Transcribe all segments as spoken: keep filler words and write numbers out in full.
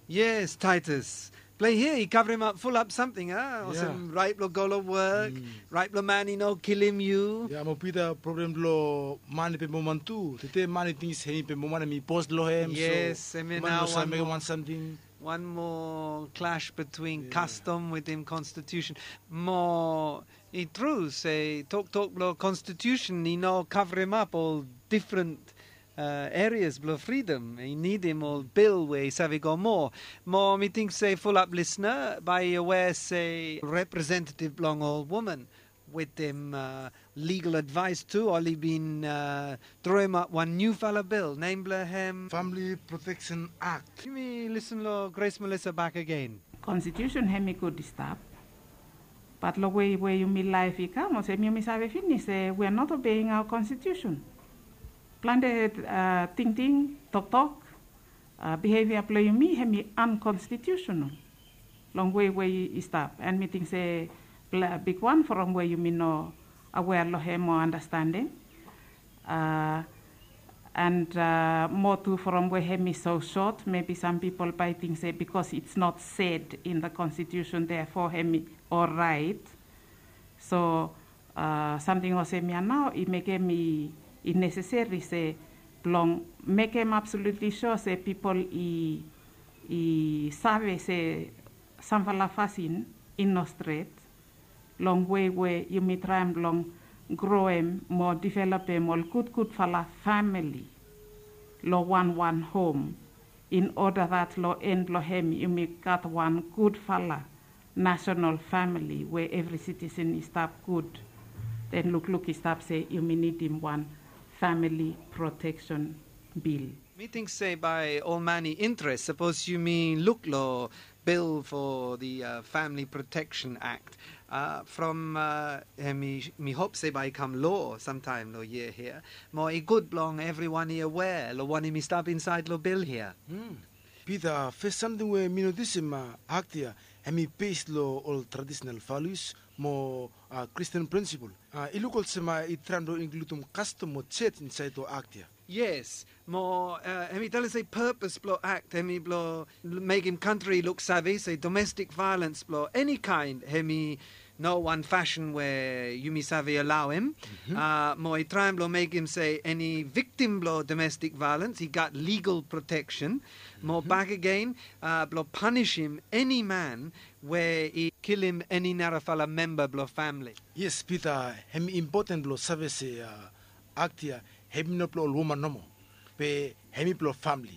Yes, Titus. Blong hia i kavremap fulap samting, a? Olsem raet blong go long wok, raet blong man i no kilim yu. Ya, mo Pita, problem blong man i pembe man tu. Tete man i ting se hemi pembe man, hemi bos long hem. Yes, so hemia man nao no save mekem wan samting. Wan moa clash between kastom wetem konstitusen. Mo i tru se toktok blong konstitusen i no kavremap ol difren uh, erias blong fridom. I nidim ol bil we i save go moa. Mo mi ting se fulap lisna bae i aware se representetiv blong ol woman wetem uh, ligal advaes tu, oli bin uh, droemap wan niufala bil, nem blong hem Family Protection Act. Yumi lisen long Grace Melissa bakegen. Konstitusen hemi gud i stap. Bat long wei we yumi laef i kam, olsem yumi save finis se we are not obeying our constitution. Plante uh, tingting, toktok, uh, bihevia blong yumi hemi unconstitutional. Long wei we i stap. And mi ting se bigwan from we yumi no aware long hem o understanding. Uh, and uh, moa tu from we hemi so sot, maybe some people bae ting se because it's not said in the constitution, therefore hemi oraet. So uh, samting olsem ya nao i mekem i, i neseseri se blong mekem absolutli sua se pipol i, i save se samfala fasin i no stret long wei we yumi traem blong groem mo developem ol gudgudfala famili long wanwan hom, in oda dat long en blong hem yumi gat wan gudfala nasonal famili we evri sitisen i stap gud. Den lukluk i stap se yumi nidim wan famili proteksen bil. Mi ting se bae ol man i interes, sapos yumi luk long bil fo the uh, Family Protection Act. Uh, from uh, mi, mi hop se bae i kam loa samtaem long yia hia. Mo i gud blong evriwan i aware long wanem i stap insaed long bil hia. Pita, fes samting we mi notisim, uh, akt ya hemi bes long ol tradisenal values mo uh, Kristin prinsipol. Uh, i luk olsem uh, i traem blong inkludim kastom mo joj insaed long akt ya. Yes, mo uh, hemi talem se purpose blong akt hemi blong mekem kantri i luk save se domestik vaelens blong eni kaen hemi no wan fasin we yumi save alaoem. Uh, mo i traem blong mekem se eni viktim blong domestik vaelens i gat ligal proteksen. Mo bakegen, uh, blong panisim eni man we i kilim eni narafala memba blong famili. Yes, Pita, hemi impoten blong save se uh, akt ya hemi no blong ol woman nomo, be hemi blong famili.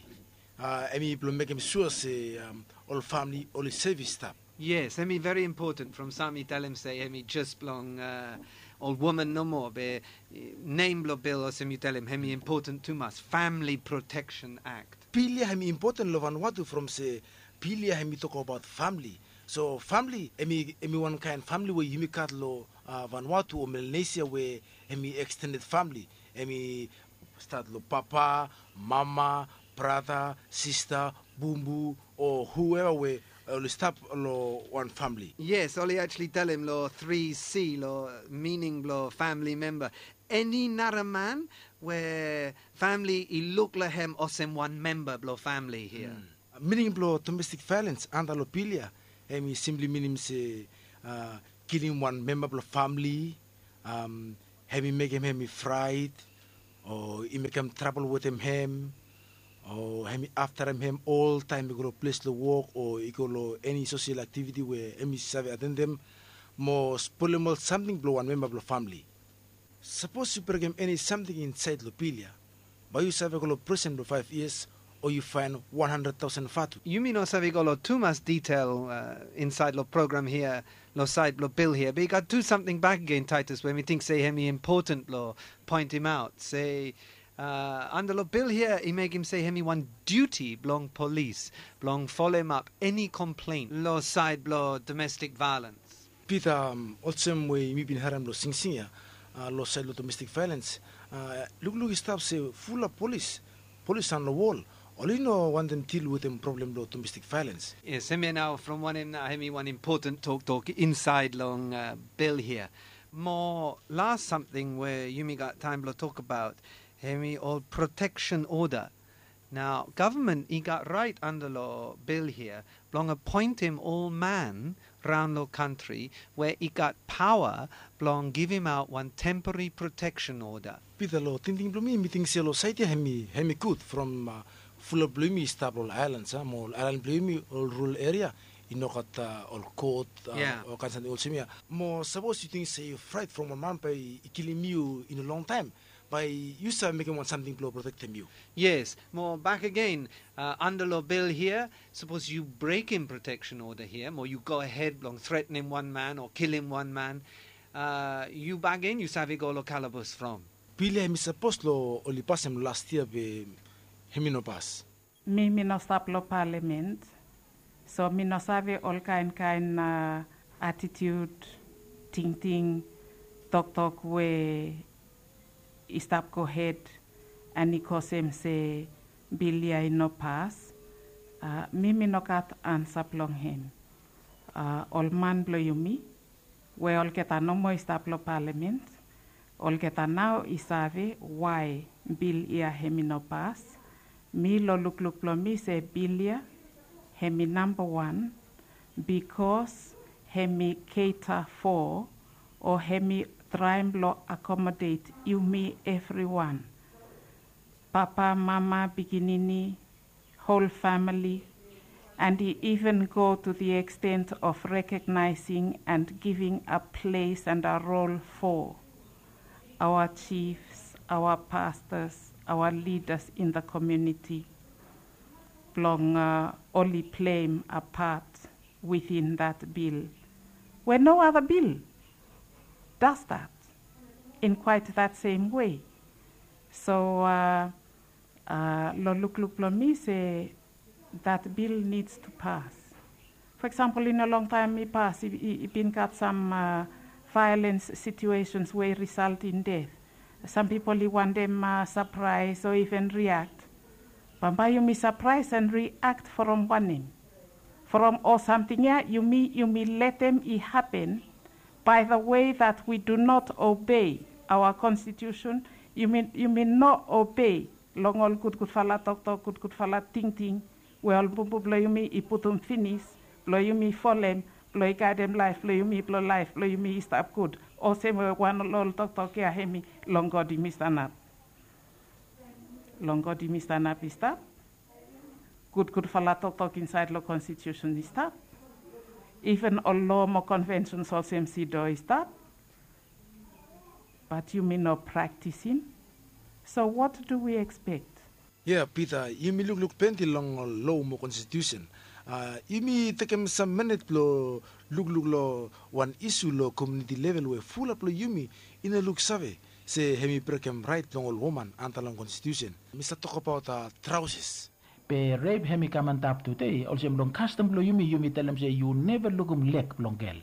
Uh, hemi blong mekem sua se um, ol famili oli sev i stap. Yes, hemi veri impoten from sam i talem se hemi jes blong uh, ol woman nomo, be uh, nem blong bil olsem yu talem hemi impoten tumas, Family Protection Act. Bil ya hemi impoten long Vanuatu from se bil ya hemi tokbaot famili. So famili hemi, hemi wan kaen famili we yumi gat long uh, Vanuatu o Melanesia we hemi ekstended famili. Hemi stat long papa, mama, brata, sista, bumbu o hueva we oli stap long wan famili. Yes, oli actually talem long three C long mining blong famili memba. Eni nara man we famili i luk long hem olsem wan memba blong famili hia. Mining blong domestik vaelens anda long bil ya hemi simpli minim se uh, kilim wan memba blong famili, um, hemi mekem hem i fraet, o i mekem trabol wetem hem, o hemi aftarem hem oltaem i go long ples long wok o i go long eni sosel aktiviti we hemi save atendem, mo spolem ol samting blong wan memba blong famili. Sapos yu brekem eni samting insaed long bil ya, bae yu save go long prisen blong faef yias o yu faen wan handred taosen vatu. Yumi no save go long tumas ditel uh, insaed long program hia, long saed blong bil hia, be i gat tu samting bakegen, Titus, we mi ting se hemi impoten blong poentimaot se uh, anda long bil hia i mekem se hemi wan diuti blong polis blong folemap eni komplen long saed blong domestik vaelens. Pita, um, olsem we yumi bin harem long singsing ya, uh, long saed long domestik vaelens, uh, lukluk i stap se fulap polis, polis han long wol, oli no wantem dil wetem problem blong domestik vaelens. Yes, hemia nao from wanem nao hemi wan impoten toktok insaed long uh, bil hia. Mo las samting we yumi gat taem blong tokbaot hemi ol proteksen oda. Nao gavman i gat raet anda long bil hia blong apoentem ol man raon long kantri we i gat paoa blong givimaot wan temporari proteksen oda. Pita, long tingting blong mi, mi ting se long saed ya hem i gud from fulap blong yumi i stap long ol aelan, a mo ol aelan blong yumi, ol rural eria i no gat ol kot, ol kaen samting olsem ya. Mo sapos yu ting se yu fraet from wan man bae i kilim yu in a long taem, bae yu save mekem wan samting blong protektem yu. Yes, mo bak agen, anda long bil hia, sapos yu brekem proteksen oda hia mo yu gohed blong tretenem wan man o kilim wan man, yu bak agen yu save go long kalabas from. Bil ya hem i sapos long oli pasem las yia be hem i no pas. Mi mi no stap long palamen, so mi no save ol kaenkaen atitiud, tingting, toktok we i stap gohed, an i kosem se bil ya i no pas. Mi mi no gat ansa blong hem. Ol man blong yumi we olgeta no moa i stap long palamen, olgeta nao i save wae bil ya hem i no pas. Mi long lukluk blong mi se bil ya hem i nambawan, bikos hem i keta fo o hem i traem blong akomodet yumi evriwan, papa, mama, pikinini, whole family, and he even go to the extent of recognizing and giving a place and a role for our chiefs, our pastors, our leaders in the community blong oli pleim a pat within that bill, we no other bill does that in quite that same way. So long lukluk blong mi se that bill needs to pass. For example, in a long time i pas, i bin gat some violence situations we i result in death. Some people i wantem surprise or even react. Bambae yumi surprise and react from wanem? From ol samting ya yumi yumi letem i happen by the way that we do not obey our constitution. Yumi yumi no obey long ol gudgudfala toktok, gudgudfala tingting we ol bubu blong yumi i putum finis blong yumi folem blong i gaedem laef blong yumi blong laef blong yumi i stap gud. Olsem we wan long ol toktok ya hem i long God yumi stanap. Long God yumi stanap i stap. Gudgudfala toktok insaed long konstitusen i stap. Iven ol loa mo konvensens olsem sido i stap. Bat yumi no praktisim. So wat du wi ekspek? Ya Pita, yumi lukluk plante long ol loa mo konstitusen. Yumi tekem sam minit blong lukluk long wan isu long komuniti level we fulap long yumi i no luksave se hem i brekem raet blong ol woman antap long konstitusen. Mi save tokbaot traoses. Be rep hem i kam antap tude olsem long kastom blong yumi, yumi talem se yu neva lukim lek blong gel.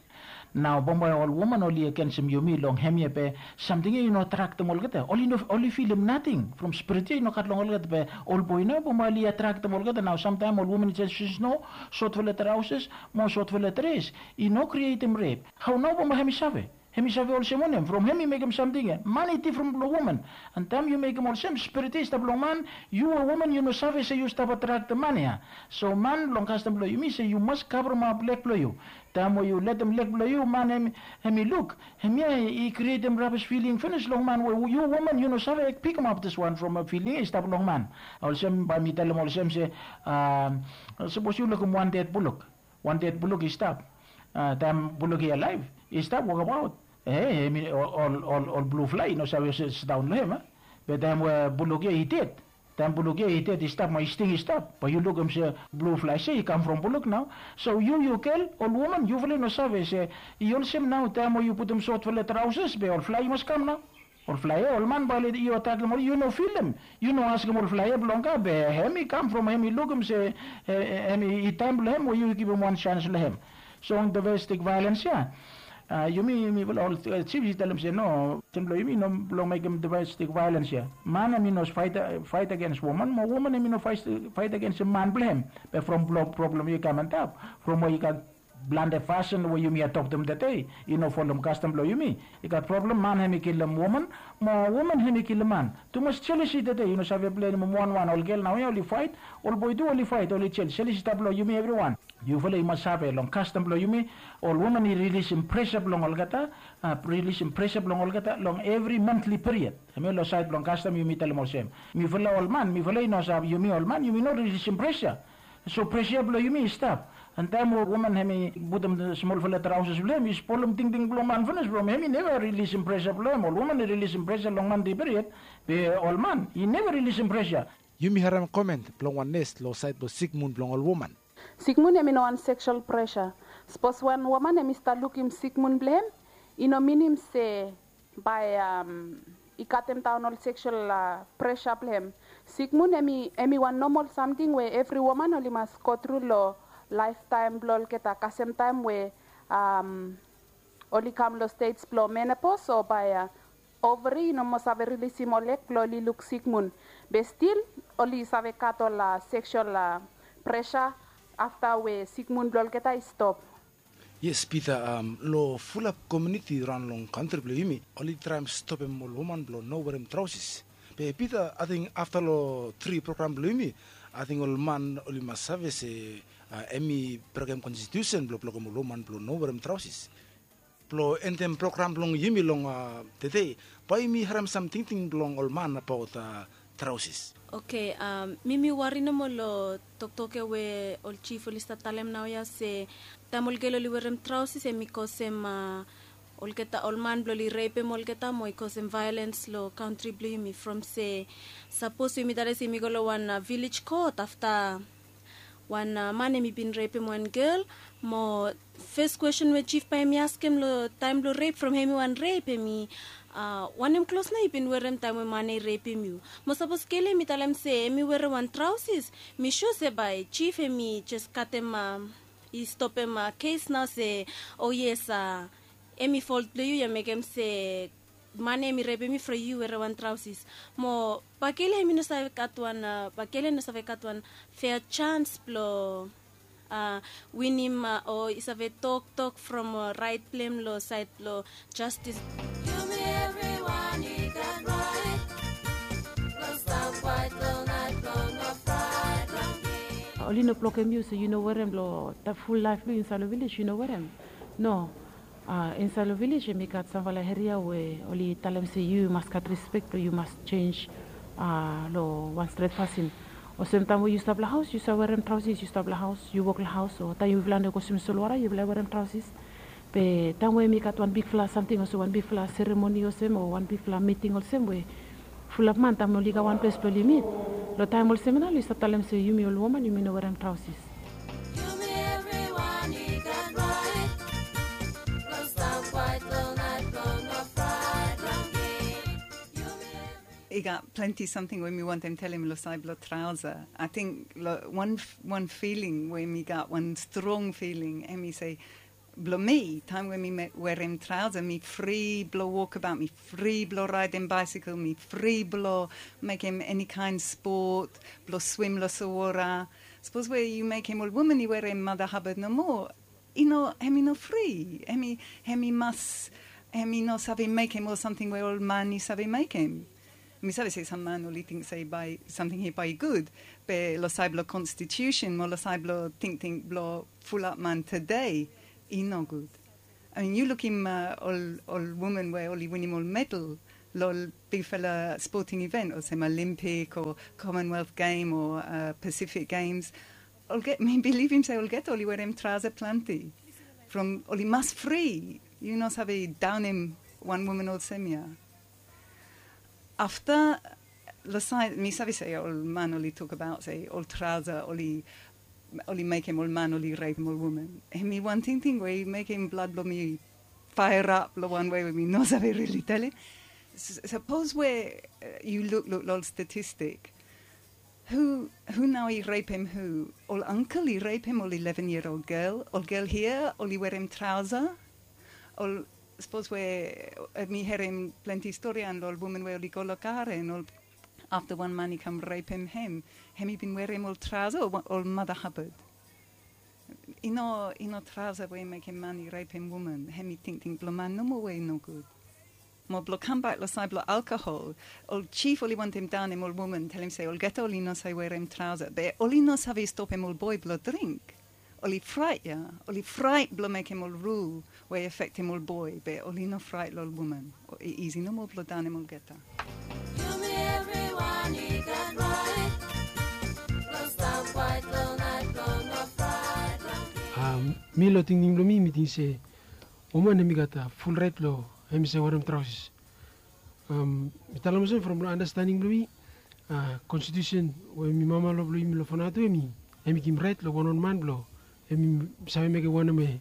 Nao bambae ol woman oli agensem yumi long hemia be samting ya i no atraktem olgeta. Oli no oli filim nating from spirit ya i no gat long olgeta be ol boe nao bambae oli atraktem olgeta. Nao samtaem ol woman i jes yus no sotfala traoses mo sotfala dres i no krietem rep. Hao nao bambae hem i save? Hem i save olsem wanem from hem i mekem samting ya? Man i difren long woman. An taem yu mekem olsem spirit ya i stap long man, yu we woman yu no save se yu stap atraktem man ya. So man long kastom blong yumi se yu mas kavremap lek blong yu. Taem we yu letem lek blong yu man hem i luk, hemia i krietem rabis filing finis long man we yu woman yu no save pikimap diswan from a filing ya i stap long man. Olsem bae mi talem olsem se sapos yu lukim wan ded buluk, wan ded buluk i stap. Taem buluk i alaev i stap wokabaot, e hem i ol ol ol blu flae i no save sidaon long hem. Be taem we buluk ya i ded, taem buluk ya i ded i stap mo i sting i stap, bae yu lukim se blu flae se i kam from buluk nao. So yu yu gel, ol woman yufala i no save se i olsem nao taem we yu putum sotfala traoses be ol flae i mas kam nao. Ol flae ya ol man bae oli yu atraktem oli, yu no filim, yu no askem ol flae ya blong kam be hem i kam from hem i lukim se hem i taem blong hem we yu givim wan sans long hem. So domestik vaelens ya, yumi mifala ol jif i talem se no, olsem blong yumi no blong mekem domestik vaelens ya. Man hem i no faet agens woman mo woman hem i no faet agensem man blong hem. Be from blong problem ya i kam antap from we i gat Blante fasin we yumi adoptem tede i no folem kastom blong yumi. I gat problem, man hem i kilim woman, mo woman hem i kilim man. Tumas jelesi tede i no save plenim wanwan. Ol gel naoia oli faet, ol boe tu oli faet, oli jel jelesi tap long yumi evriwan. Yufala i mas save long kastom blong yumi, ol woman i rilisim presa blong olgeta, a rilisim presa blong olgeta long evri mantli piriod. Hemia long saed blong kastom yumi talem olsem, mifala ol man mifala i no save, yumi ol man yumi no rilisim presa. So presa blong yumi i stap. An taem we woman hem i putum smolfala traoses blong hem i spolem tingting blong man finis from hem i neva rilisim presa blong hem. Ol woman i rilisim presa long mantli piriod, be ol man i neva rilisim presa. Yumi harem komen blong wan nes long saed blong sikmun blong ol woman. Sikmun hem i no wan seksual presa. Sapos wan woman hem i stap lukim sikmun blong hem, i no minim se bae i katemdaon ol seksual presa blong hem. Sikmun hem i wan nomal samting we evri woman oli mas gotru long laeftaem blong olgeta kasem taem we oli kam long stej blong menopos o bae overi i no moa save rilisim ol eg blong oli luk sikmun. Be stil oli save gat ol seksual presa afta we sikmun blong olgeta i stop. Yes, Pita, long fulap komuniti raon long kantri blong yumi oli traem stopem ol woman blong no werem traoses. Be Pita, ating afta long tri program blong yumi, ating ol man oli mas save se hem i brekem konstitusen blong blokem ol woman blong no werem traoses. Blong endem program blong yumi long tede, bae yumi harem sam tingting blong ol man abaot traoses. Oke, mi mi wari nomo long toktok ya we ol jif oli stap talem naoia se taem ol gel oli werem traoses hem i kosem olgeta ol man blong oli repem olgeta mo i kosem vaelens long kantri blong yumi from se sapos yumi talem se yumi go long wan vilej kot afta wan man hem i bin repem wan gel mo fes kwesten we jif bae hem i askem long taem blong rep from hem i wan rep hem i wanem klos nao yu bin werem taem we man ya i repem yu? Mo sapos gel ya hem i talem se hem i werem wan traoses, mi sua se bae jif hem i jes katem i stopem kes nao se o yes, hem i folt blong yu ya mekem se man ya hem i repem yu from yu werem wan traoses. Mo bae gel ya hem i no save gat wan bae gel ya i no save gat wan fea jans blong winim o i save toktok from raet blong hem long saed blong jastis. Yumi evriwan i gat raet blong stap kwaet long naet blong no fraet long mi. Oli no blokem yu so yu no werem long ful laef blong yu insaed long vilej yu no werem. No. Insaed long vilej hem i gat samfala eria we oli talem se yu mas gat rispek blong yu mas jenj long wan stret fasin. Olsem taem we yu stap long haos yu save werem traoses, yu stap long haos yu wok long haos o taem yufala no i go swim solwara yufala i werem traoses. Be taem we hem i gat wan bigfala samting olsem wan bigfala seremoni olsem o wan bigfala miting olsem we fulap man taem oli gat wan ples blong oli mit, long taem olsem ya nao oli stap talem se yumi ol woman yumi no werem traoses. Yumi evriwan i gat raet blong stap kwaet long naet blong no fraet long mi. Yumi evri- I gat plante samting we mi wantem talem long saed blong traosa. Ating wan filing we mi gat wan strong filing hem i se blong mi taem we mi werem traosa mi fri blong wokbaot, mi fri blong raedem baesekel, mi fri blong mekem eni kaen spot, blong swim long solwara. Sapos we yu mekem ol woman i werem mada habad nomo, i no, hem i no fri. Hem i mas, hem i no save mekem ol samting we ol man i save mekem. Mi save se sam man oli ting se bae samting hia bae i gud, be long saed blong konstitiusen mo long saed blong tingting blong fulap man tede, i nogud. I mean yu lukim ol woman we oli winim ol medal long ol bigfala spoting iven olsem Olimpik o Komonwelf Gem o Pasifik Gems. Olgeta, mi bilivim se olgeta oli werem traosa plante from oli mas fri. Yu no save daonem wan woman olsem ya. Afta long saed mi save se ol man oli tokbaot se ol traosa oli oli mekem ol man oli repem ol woman. Hemi wan tingting we i mekem blad blong mi faerap long wan wei we mi no save rili talem. Sapos we yu lukluk long ol statistik, hu hu nao i repem hu? Ol angkel i repem ol ileven yia ol gel. Ol gel hia oli werem traosa. Ol sapos we mi harem plante storian long ol woman we oli go long garen ol afta wan man i kam repem hem, hem i bin werem ol traosa o ol mada habad? I no, i no traosa we i mekem man i repem woman, hemi tingting blong man nomo we i nogud. Mo blong kambak long saed blong alkohol, ol jif oli wantem daonem ol woman, talem se olgeta oli no save werem traosa, be oli no save stopem ol boe blong dring. Oli fraet ya, oli fraet blong mekem ol rul we i afektem ol boe, be oli no fraet long ol woman. I isi nomo blong daonem olgeta. Yumi evriwan i gat raet blong stap kwaet long naet blong no fraet long. Mi long tingting blong mi, mi ting se woman hemi gat ful raet blong hemi save werem traosas. Mi talem olsem from long andastaning blong mi, konstitusen we mi mama lo blong yumi long fanatu hemi, hemi givim raet long wanwan man blong hemi save mekem wanem we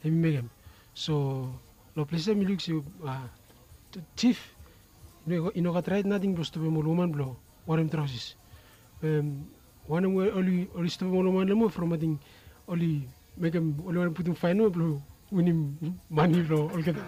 hemi mekem. So long ples ya mi luk se jif i no gat raet nating blong stopem ol woman blong werem traosas. Wanem we oli, oli stopem ol woman long moa from ating oli mekem, oli wantem putum faen nomo blong winim mane blong olgeta.